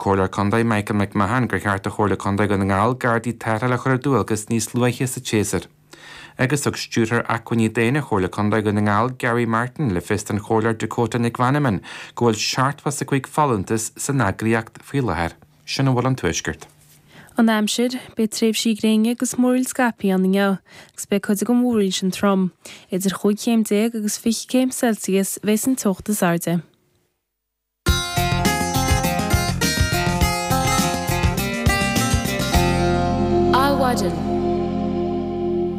Comhairleoir Contae Michael McMahon gur cheart do Chomhairle Contae Dhún na nGall Gardaí tarrthála a chur ar dualgas níos luaithe sa tséasúr. Agus thug Stiúrthóir Acmhainní Daonna Chomhairle Contae Dhún na nGall Gary Martin le fios don Chomhairleoir Dakota Nic Mheanman go bhfuil 75 folúntas san eagraíocht faoi láthair. Sin a bhfuil ón Tuaisceart. An aimsir, Beidh tréimhsí gréine agus múraíl scaipthe ann inniu, agus beidh cuid den mhúraíl sin trom. Idir chúig chéim déag agus 20 céim Celsius a bheas an teocht is airde. Adhmhaidin.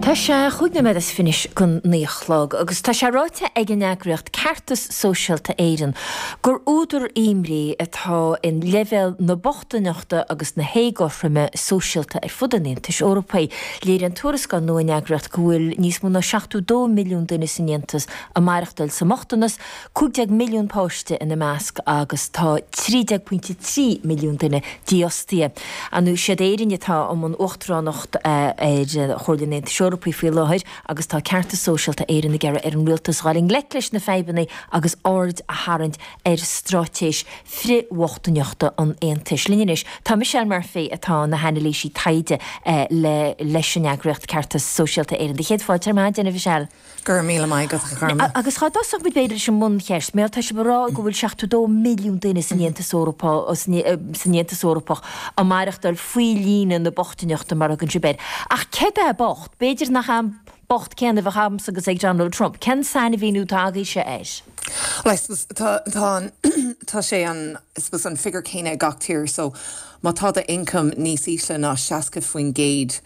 Tá sé chúig nóiméad is fiche go naoi a chlog agus tá sé ráite ag an eagraíocht Ceartas Sóisialta Éireann gur údar imní atá in leibhéal na bochtaineachta agus na héagothroime sóisialta ar fud an Aontais Eorpaigh. Léiríonn tuarascáil nua an eagraíocht go bhfuil níos mó ná 72 milliún duine san Aontas ag maireachtáil sa mbochtanas, 15 milliún páiste ina measc agus tá 13.3 milliún duine dífhostaithe. Ar ndóigh, siad Éirinn atá i mbun uachtaránacht ar Chomhairle an Aontais Eorpaigh faoi láthair agus tá Ceartas Sóisialta Éireann ag iarraidh ar an rialtas dhul i ngleic leis na fadhbanna agus aird a tharraingt ar straitéis frith-bhochtaineachta an Aontais. Linn anois tá Michelle Murphy atá ina hanailísí taighde le leis an eagraíocht Ceartas Sóisialta Éireann. Do chéad fáilte ar maidin, a Mhichelle. Go raibh míle maith agat, a Gharma. Agus dhá dtosódh muid b'fhéidir leis an mbuncheist, mar tá sibh ag rá go bhfuil 72 milliún duine san Aontas Eorpach, san Aontas Eorpach ag maireachtáil faoi líne na bochtaineachta mar a thugann sibh air. Ach céard é bocht? B'fhéidir nach é an bocht céanna a bheadh agamsa agus ag Donald Trump. Cén sainmhíniú atá agaibhse air? Well, I suppose tá, tá an, tá sé an, I suppose an figiúr céanna ag gach tír so má tá do income níos ísle ná 60%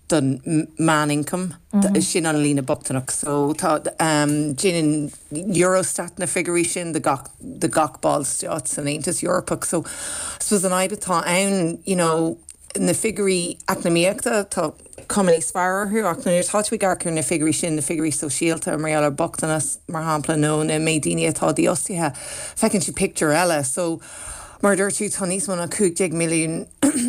don meánioncam, sin an líne bochtaineacht. So tá, déanann Eurostat na figiúirí sin do gach, do gach ballstát san Aontas Eorpach. So I suppose an fhadhb atá ann, you know, na figiúirí eacnamaíochta, tá cuma níos fearr orthu ach nuair atá tú ag amharc ar na figiúirí sin, na figiúirí sóisialta mar gheall ar bochtanas, mar shampla, nó na méid daoine atá dífhostaithe, feiceann tú pictiúr eile. So Mar a dúirt tú, tá níos mó ná 15 milliún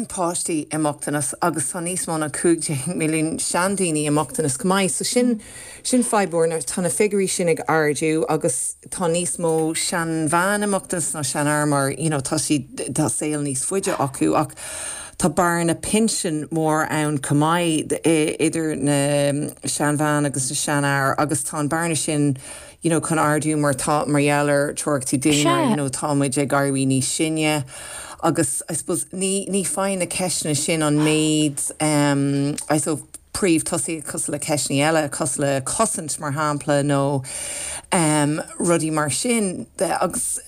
páistí i mbochtanas agus tá níos mó ná 15 milliún seandaoine i mbochtanas chomh maith. So sin, sin fadhb mhór. Tá na figiúirí sin ag ardú agus tá níos mó seanbhean i mbochtanas ná seanfhear mar, you know, tá siad, tá saol níos faide acu ach tá bearna pinsin mór ann chomh maith idir na seanbhean agus na seanfhear agus tá an bearna sin, you know chun ardú mar tá mar gheall ar treochtaí daonra you know tá muid ag éirí níos sine agus I suppose ní ní faigheann na ceisteanna sin an méid um I suppose príomh-tosaíocht cosúil le ceisteanna eile cosúil le cosaint mar shampla nó um rudaí mar sin agus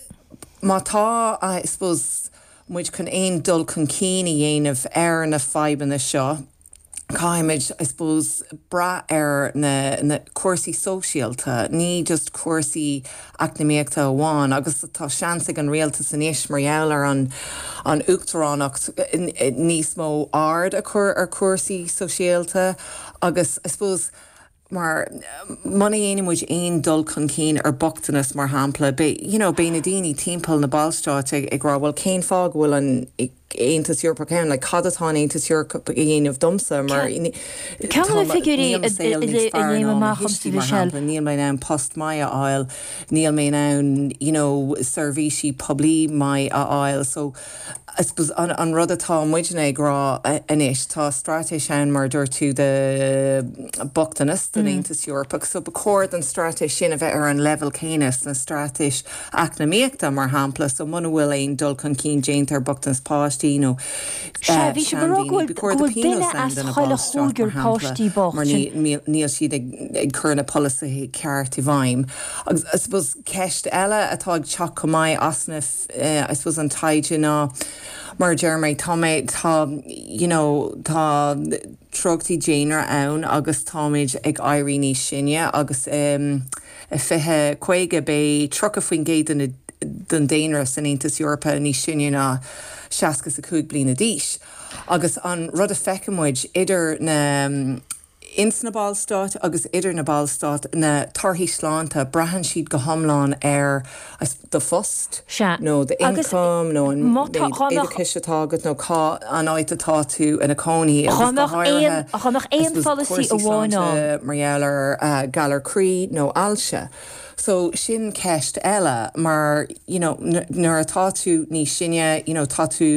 má tá I suppose muid chun aon dul chun cinn a dhéanamh ar na fadhbanna seo caithfimid, I suppose, brath ar na na cúrsaí sóisialta, ní just cúrsaí eacnamaíochta amháin agus tá seans ag an rialtas anois mar gheall ar an an uachtaránacht níos mó aird a chur ar chúrsaí sóisialta agus, I suppose, mar muna dhéanann muid aon dul chun cinn ar bochtanas mar shampla, beidh, you know, beidh na daoine timpeall na ballstáit ag, ag rá bhuel cén fáth go bhfuil an Aontas Eorpach ann, like cad atá an Aontas Eorpach a dhéanamh domsa mar Ceann de na figiúirí níl mo saol níos fearr ná mo thuistí mar shampla, níl mé in ann post maith a fháil, níl mé in ann, you know, seirbhísí poiblí maith a fháil so I suppose an an rud atá muidne ag rá anois, tá straitéis ann mar a dúirt tú do bochtanas don Aontas Eorpach so ba chóir don straitéis sin a bheith ar an leibhéal céanna sna straitéis eacnamaíochta mar shampla so muna bhfuil aon dul chun cinn déanta ar bochtanas páistí nó Sea, bhí sibh ag rá go seandaoine, bhfuil ba chóir go do bhfuil duine pionós ann as do na chuile ballstáit mar chúigear shampla páistí bocht, mar sin. níl níl siad ag ag cur na polasaithe ceart i bhfeidhm. Agus I suppose ceist eile atá ag teacht chomh maith as na I suppose an taighde ná mar a deir mé tá mé tá you know tá treochtaí daonra ann agus táimid ag éirí níos sine agus i 2050 beidh 30% de na den daonra san Aontas Eorpach níos sine ná 65 bliana d'aois agus an rud a feiceann muid idir na. Ins na Ballstáit agus idir na Ballstáit, na torthaí sláinte, braitheann siad go hiomlán ar do phost nó d'ioncam nó an méid oideachais atá agat nó cá an áit atá tú ina cónaí agus go háirithe I suppose cúrsaí sláinte mar gheall ar galar croí nó ailse. So sin ceist eile mar you know nuair atá tú níos sine you know tá tú.